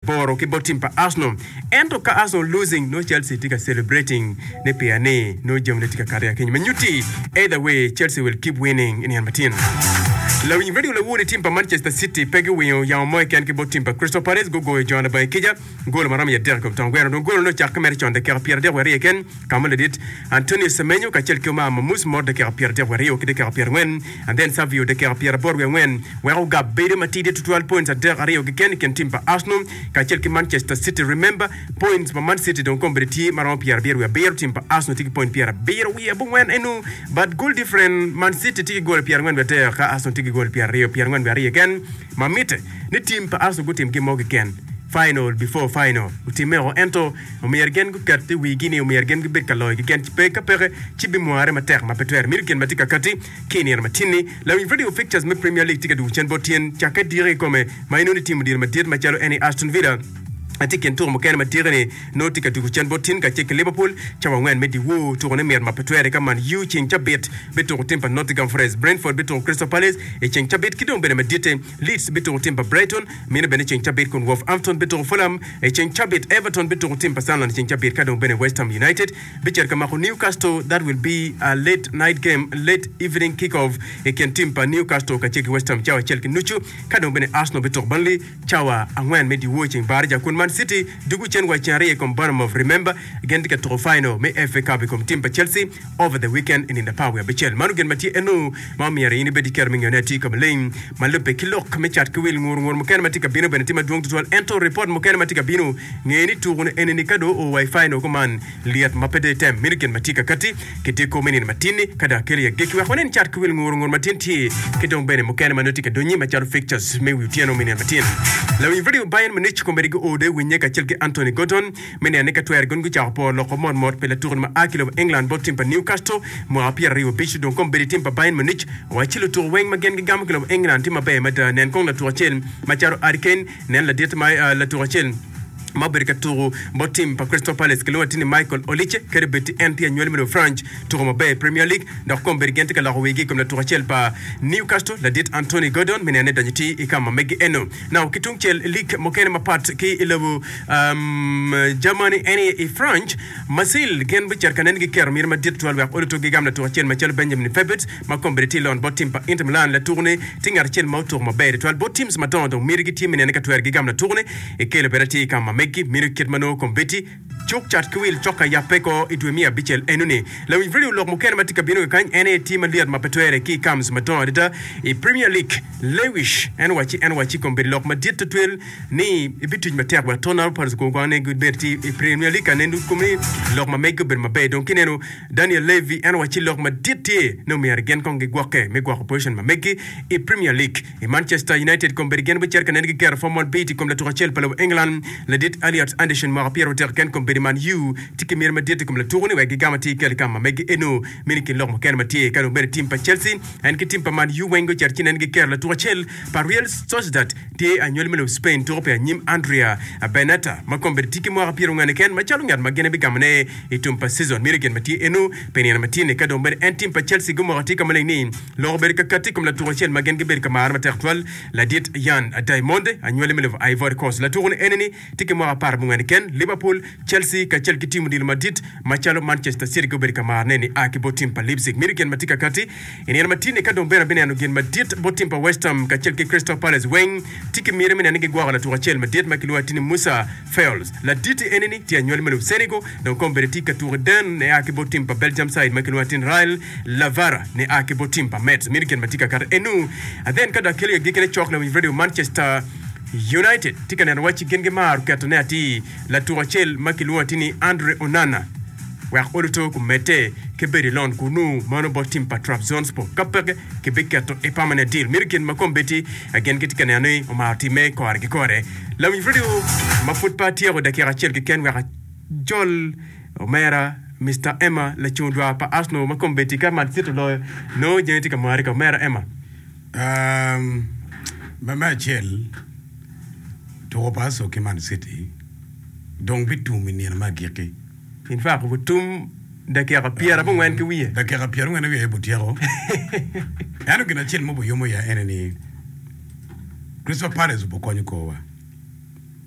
aboro ki bot tim pa Arsenal. Ento ka Arsenal losing nongo Chelsea tye ka celebrating ne pia ni nongo jami ne tye ka kato i akinyi. Ma nyutti either way Chelsea will keep winning i nino matin. Lawiny radio lawur ni tim pa Manchester City pe giwinyo yamo mo keken ki bot tim pa Crystal Palace gugoyo jo labange kica golo ma romo i adek i kom tong gweno. Dong golo ne ocakke mere con dakika 32 keken ka ma ladit Antonio Semenyo kacel ki Omar Mamus mot dakika 32 ki dakika 40 and then Savio dakika 84 weko gap bedo matidi tutwal points adek aryo keken i kin tim pa Arsenal kacel ki Manchester City. Remember, points pa Man City dong kombeddi tye ma romo 77, tim pa Arsenal tye ki point 79 enu, but goal different Man City tye ki gol 43 ka Arsenal tye ki gol 20 42 keken. Ma mitte ni tim pa Arsenal gutim gin mo keken final before final otimme oko ento omyero gin guket i wigi ni omyero gin gibed ka loyo keken pe ka peke ci bimware matek ma pe twere. Mito gin ma tye ka kati ki i nino matin-ni, lawiny radio fixtures me Premier League tye ka dwogo cen bot tyen cakke diki kikome ma inongo ni tim odilo madit macalo en i Aston Villa tye i kin tuko mukene ma diki-ni nongo tye ka dwogo cen bot tin kacel ki Liverpool cawa angwen me dyewor. Tukone mit ma pe twere ka Man U ceng cabit bituko tim pa Nottingham Forest, Brentford bituko Crystal Palace i ceng cabit ki dong bene maditte Leeds bituko tim pa Brighton meno bene ceng cabit kun Wolverhampton bituko Fulham i ceng cabit, Everton bituko tim pa Sunderland i ceng cabit ka dong bene West Ham United bicito ka mako Newcastle that will be a late night game, late evening kick off i kin tim pa Newcastle kacel ki West Ham cawa acel ki nucu ka dong bene Arsenal bituko Burnley cawa angwen me dyewor ceng baraja kun Man City dugo cen wa ceng aryo i kom Bournemouth remember gin tye ka tuko final me FA Cup i kom tim pa Chelsea over the weekend i nino apar wiye abicel. Mano gin ma tye eno ma omyero in ibed ki kero me ngeyone atir ka maleng ma lubbe ki lok me cat ki wil. Ngur ngur mukene ma tye ka bino bene tye madwong tutwal ento ripot mukene ma tye ka bino nge ni tuku ni eni ni ka dong oo wa i final kuman lyet ma pe dong item meno gin ma tye ka kati ki diko me nino matin-ni ka dong akelo i agikki wek wanen cat ki wil ngur ngur matin tye ki dong bene mukene ma nongo tye ka donyi macalo fixtures me wi otyeno me nino matin. Lawiny radio Bayern Munich kombeddi guo dong i winye kacel ki Anthony Gordon Me neno ni ka twere gin gucako poro loko mot mot pi latukoni ma a ki lobo England bot tim pa Newcastle mwaka 25 dong kombeddi tim pa Bayern Munich owacci lutuku weng ma gin gigamo ki lobo England tye maber mada. Nen kong latuku acel macalo Harry Kane, nen ladit ma latuku acel ma obedo ka tuku bot tim pa Crystal Palace kilwongo atir ni Michael Olise kadi bed ti en tye anywali me lobo France tuku maber i Premier League dok kombeddi gin tye ka loko wigi i kom latuku acel pa Newcastle ladit Anthony Gordon me neno ni donyo ti i ka ma megi eno. Now ki tungcel i lig mukene mapat ki i lobo Germany en aye i France, Marseille gin bicito ka nen giketo miti madit tutwal wek olutuk gigam latuk acel macalo Benjamin Febet ma kombeddi tye i lon bot tim pa Inter Milan. Latuk-ni tye ngat acel ma otuko maber tutwal bot teams madongo dong miti gitye me nene ka twero gigam latuk-ni ikelo bene atir i ka ma megi miti kit ma nongo kombeddi Cuk cat ki wil cok ka yabbe ko i dwe me abicel enoni. Lawiny radio lok mukene ma tye ka bino kakany en aye tye malyet ma pe twere ki i camps madongo adada i Premier League. Lewis en owacci en owacci i kom bedo lok madit tutwel ni ibituc matek wek Tottenham Hotspurs gugwang ne gibed tye i Premier League ka nen kom ni lok ma megi obedo maber. Dong kineno Daniel Levy en owacci lok madit tye ni omyero gin kong gigwokke me gwoko position ma megi i Premier League. I Manchester United kombeddi gin bicito ka nen giketo formal bid i kom latuk acel pa lobo England, ladit Elliot Anderson mwaka pyerautek keken kombeddi Man U tye ki miti madit i kom latuku-ni wek gigam atir kel i kam ma megi eno mini kin lok mukene ma tye ka dong bene tim pa Chelsea en ki tim pa Man U weng gucito ci nen giketo latuk acel pa Real Sociedad tye anywali me lobo Spain tuko pi anyim Andrea Bernata ma kombeddi tye ki mwaka pyerongwen keken macalo ngat ma gin bigamone i tum pa season mini gin ma tye eno pi nino ma tye-ni ka dong bene en tim pa Chelsea gumoko atir ka maleng ni Lok obedo ka katti i kom latuko acel ma gin gibedo ka maro matek tutwal, ladit Yan Diamonde, anywali me lobo Ivory Coast. Latuko-ni eni-ni tye ki mwaka aparabongwen keken. Liverpool, Chelsea kacel ki tim odilo madit macalo Manchester City gubedo ka marone nia ki bot tim pa Leipzig. Mito gin ma tye ka katti i nino ma tye-ni ka dong bene abineno gin madit bot tim pa West Ham kacel ki Crystal Palace weng tye ki miti me neno ni gigwoko latuko acel madit ma kilwongo atir ni Moussa Fails. Ladit eni-ni tye anywali me lobo Senegal dong kombeddi tye ka tuko i den nia ki bot tim pa Belgium side ma kilwongo atir ni Ryle Lavara ni a ki bot tim pa Mets mito gin ma tye ka kato enu. Then ka dok kelo i agikkine cok lawiny radio Manchester United tye ka neno wacci gin gimaro ketone atir latuko acel ma kilwongo atir ni Andre Onana wek oluto kumedde ki bedo i lon kunu mano bot tim pa Trabzonspor ka peke kibiketo i permanent deal mito gin ma kombeddi gin gitye ka neno ni omaro timme kore ki kore. Lawiny radio ma pud pe atyeko dakika acel keken wek Jol omera Mister Emma lacung dwar pa Arsenal ma kombeddi ka Man City oloyo nongo jami tye ka mare ka omera Emma. Um, me me acel, tuko pa Arsenal ki Man City dong bitum i nino me agikki. In fact, otum dakika pyerabongwen ki wiye. Dakika pyerangwen ki wiye aye butyeko. Ento gin acel ma obiyomo iya ene ni Crystal Palace obikonyo korwa.